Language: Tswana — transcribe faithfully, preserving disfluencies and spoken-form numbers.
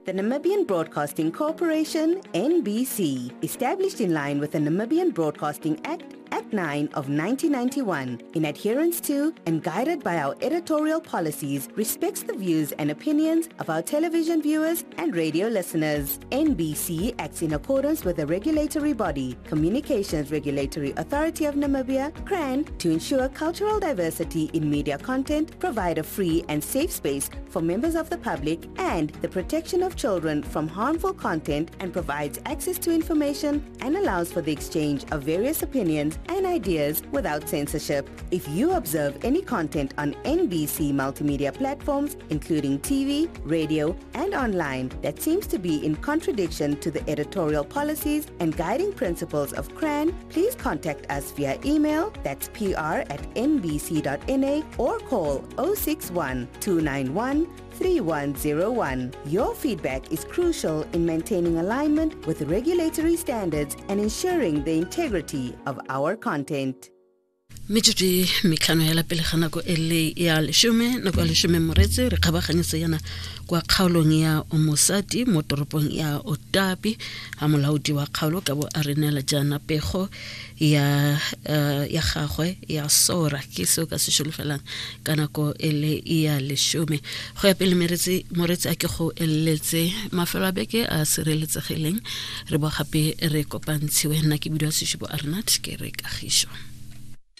The Namibian Broadcasting Corporation, N B C, established in line with the Namibian Broadcasting Act, Act nine of nineteen ninety-one, in adherence to and guided by our editorial policies, respects the views and opinions of our television viewers and radio listeners. N B C acts in accordance with the regulatory body, Communications Regulatory Authority of Namibia, C R A N, to ensure cultural diversity in media content, provide a free and safe space for members of the public, and the protection of children from harmful content, and provides access to information and allows for the exchange of various opinions and ideas without censorship. If you observe any content on N B C multimedia platforms, including T V, radio, and online, that seems to be in contradiction to the editorial policies and guiding principles of C R A N, please contact us via email, that's p r at n b c dot n a, or call oh six one, two nine one, three one zero one. Your feedback is crucial in maintaining alignment with regulatory standards and ensuring the integrity of our content. Metsotso e metlhano ya pele ga nako e le ya leshome, nako ya leshome moretse re kgabaganyetsa yana kwa kgaolong ya Omosati mo toropong ya Otapi, ha molaodi wa kgaolo ka bo a re neela jaana pego ya uh, ya gagwe ya sora ke seo ka se šolofelang ka nako e le ya leshome. Go ya pele meretse moretse a ke go eletse mafelo a beke a sireletsegileng, re bo gape re kopantshiwe. Nna ke bidiwa Seshupo Arnat, ke re kagišo.